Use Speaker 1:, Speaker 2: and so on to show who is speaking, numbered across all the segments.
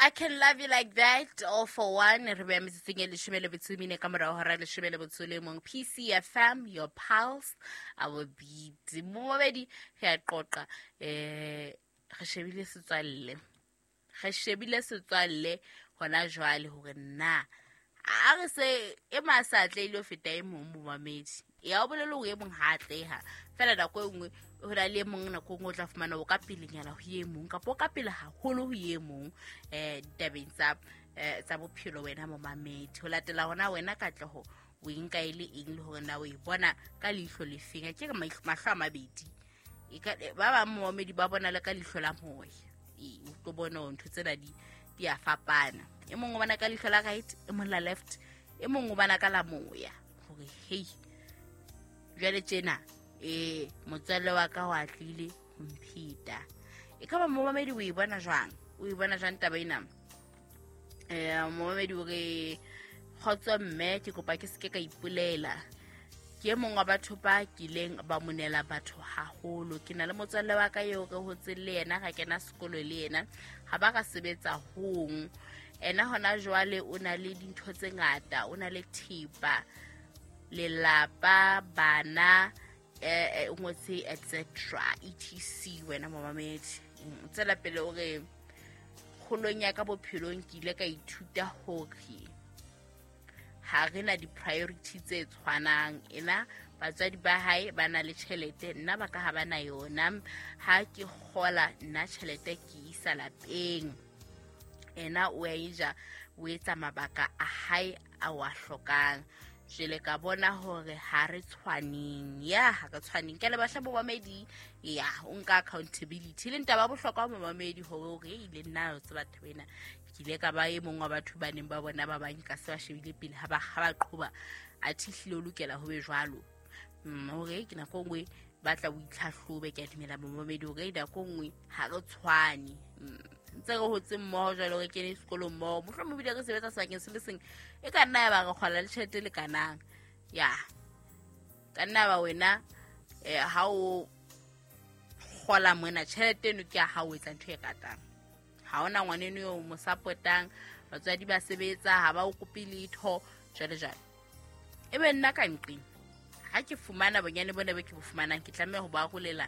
Speaker 1: I can love you like that, all for one. Re beya metsotsong e 14 ka morao hora 11. PCFM, your pulse, our beat. Momamedi, re a qoqa. Re shebile setswalle. Re shebile setswalle hona jwale hore na a re se e masa atlehile ho feta e mong momamedi. Ya o bolele hore e mong ha atleha. Fela nako e nngwe ho na le e mong, nako e nngwe o tla fumana o ka pelenyana ho e mong kapa o ka pele haholo ho e mong ditabeng tsa bophelo wena momamedi. Ho latela hona wena katleho o e nka e le eng le hore na o e bona ka leihlo le feng. Ke re mahlo a mabedi. Ba bang momamedi ba bona le ka leihlo la moya. O tlo bona hore ntho tsena di a fapana. E mong o bona ka leihlo la right, e mong la left, e mong o bona ka la moya. Hore hei, jwale tjena, motswalle wa ka o atlile ho mpheta. E ka ba momamedi o e bona jwang? O e bona jwang taba ena? Momamedi o re, kgotso mme, ke kopa ke seke ka ipolela. Ke e mong wa batho ba kileng ba monela batho haholo. Ke na le motswalle wa ka eo re hotseng le yena, ra kena sekolo le yena, ha ba ra sebetsa hong. Ena hona jwale o na le dintho tse ngata, o na le thepa, lelapa, bana, o ngotse et cetera, etc. Wena momamedi. Tswela pele o re, kgolong ya ka bophelong ke ile ka ithuta hore ha re na di-priority tse tshwanang. Ena batswadi ba hae ba na le tjhelete, nna ba ka ha ba na yona. Ha ke kgola nna tjhelete ke isa lapeng, ena o a e ja, o etsa mabaka a hae a o a hlokang. Jwale ka bona hore ha re tshwaneng. Ya, ha re tshwaneng. Ke a leboha hle momamedi. Ya, o nka accountability. Le ntaba bohlokwa momamedi hore o re ile nna o tseba taba ena. Ke ile ka ba e mong wa batho ba neng ba bona ba bang ka se ba shebile pele ha ba qhoba. Athe ehlile o lokela ho be jwalo. Hore ke nako e nngwe ba tla o itlhahlobe, ke a dumela momamedi hore nako e nngwe ha re tshwane. Ntse re hotse mmoho jwalo, re kene sekolong mmoho, mohlomong ebile re sebetsa sebakeng se le seng, e ka nna ya ba re kgola le tjhelete e lekanang. Ya, ka nna ba wena, ha o kgola mona tjhelete eno ke ya hao, o etsa ntho e ratang. Ha hona ngwaneno eo o mo support-ang, batswadi ba sebetsa, ha ba o kope letho, jwalo jwalo. E be nna ka nqeng, ha ke fumana bonyane bona bo ke bo fumanang, ke tlameha ho ba arolela,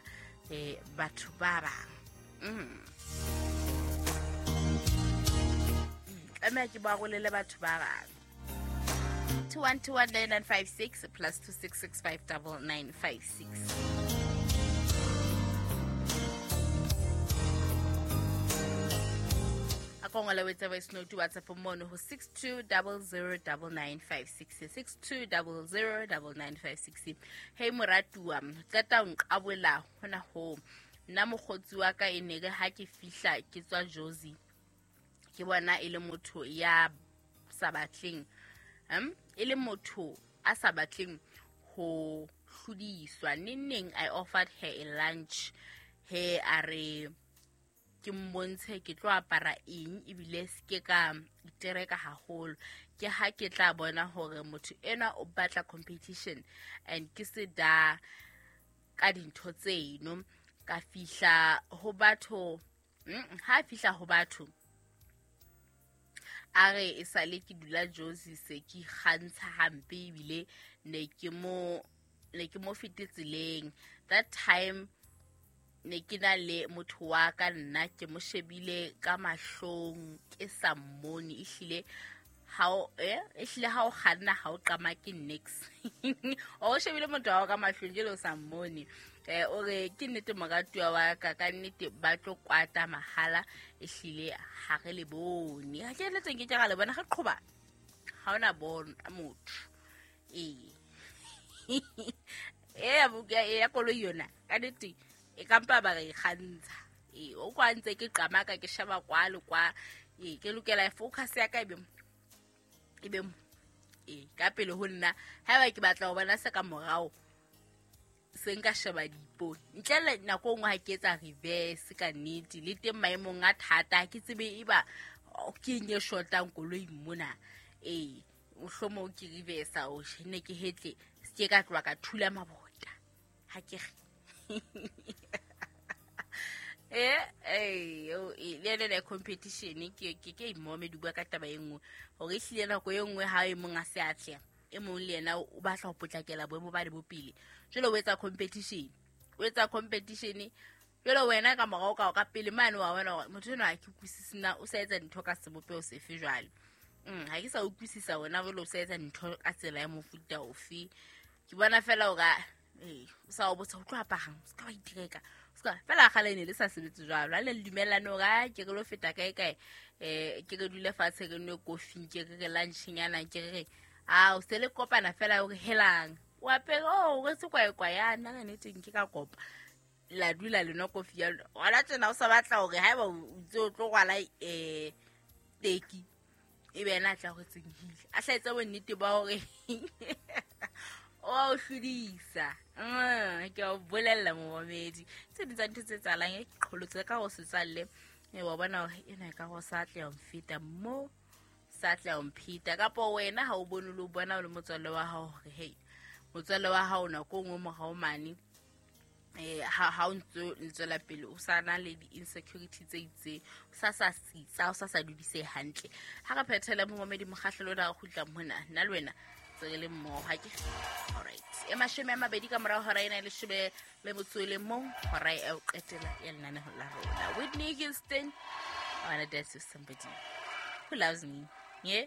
Speaker 1: batho ba bang. Tlameha ke ba arolele batho ba bang. 2121956 plus 266599956. A ko ngola o etse voice note WhatsApp mono ho 62009956, 62009956. Hey moratuwa, qeta o nqabola hona ho. Nna mokgotsi wa ka e ne re ha ke fihla ke tswa Jozi, ke bona e le motho ya sa batleng, e le motho a sa batleng ho hlodiswa. Neng neng I offered her a lunch, he a re ke mmontshe ke tlo apara eng ebile se ke ka itereka haholo. Ke ha ke tla bona hore motho enwa o batla competition and ke se da ka dintho tseno. Ka fihla ho batho, ha fihla ho batho a re e sale ke dula Jozi se ke ikgantsha hampe ebile ne ke mo fete tseleng. That time ne ke na le motho wa ka nna ke mo shebile ka mahlong ke sa mmone, ehlile ha o, ehlile ha o kganna ha o qama ke nix. O shebile motho wa hao ka mahlong jwale o sa mmone. O re ke nnete moratuwa wa ka, ka nnete ba tlo kwata mahala, ehlile ha re le bone. Ha ke le teng ke ra le bona, re qhoba. Ha ona bona motho. Ya buka, ya koloi yona, ka nnete e ka mpa ba re kgantsha. O kwa ntse ke qamaka ke sheba kwa le kwa. Ke lokela focus ya ka e be mo. Ka pele ho nna, haeba ke batla ho bona se ka morao, se nka sheba diipone. Ntle le nako e nngwe ha ke etsa reverse ka nnete, le teng maemong a thata, ha ke tsebe eba ke eng e shotang koloing mona. Mohlomong ke reverse o ne ke hetle, se ke ka tloha ka thula mabota. Ha ke re. Le ene le competition ke imome di bua ka taba e nngwe hore ehlile nako e nngwe ha e mong a se atleha, e mong le yena o batla ho potlakela boemo ba le bopele. Jwale o etsa competition, o etsa competition. Jwale wena ka morao ka pele mane wa bona hore motho enwa ha ke utlwisise na o sa etsa dintho ka sebopeho sefe jwale. Ha ke sa utlwisisa wena jwale o sa etsa dintho ka tsela ya mofuta ofe. Ke bona fela hore o sa o botsa o tlo aparang, o ska wa itreka. O ska fela kgale ne le sa sebetse jwalo. Ha le dumellane hore a ke re lo feta kae kae, ke re dule fatshe re nwe kofi, ke re re lunchnyana, ke re a o se le kopana fela hore helang. O apere, oh, o retse kwaekwa ya nna ka nnete nke ka kopa. La dula le nwa kofi ya lona. Hona tjena o sa batla hore haeba o ntse o tlo rwala, teki, e be yena a tla rwetseng hile. A hlaetse bonnete ba hore o a o hlodisa. Ke a o bolella momamedi. Tse ding tsa ntho tse etsahalang, e qholotse ka ho setswalle. Wa bona hore ena e ka ho sa tla mfeta mo, sa tla mpheta. Kapa wena ha o bone le o bona o le motswalle wa hao hore, hey, motswalle wa hao nako e nngwe morao mane, ha o ntse o tswela pele o sa na le di-insecurity tse itseng, o sa sa sitsa, o sa sa dudise hantle. Ha re phethele momamedi mokgahlelo ona re kgutla mona, nna le wena tse re le mmoho, ha ke? All right. E 20 ka morao hora ena e leshome le motso e le mong, hora e o qetela ya lenaneho la rona. Whitney Houston, I wanna dance with somebody who loves me. Yeah?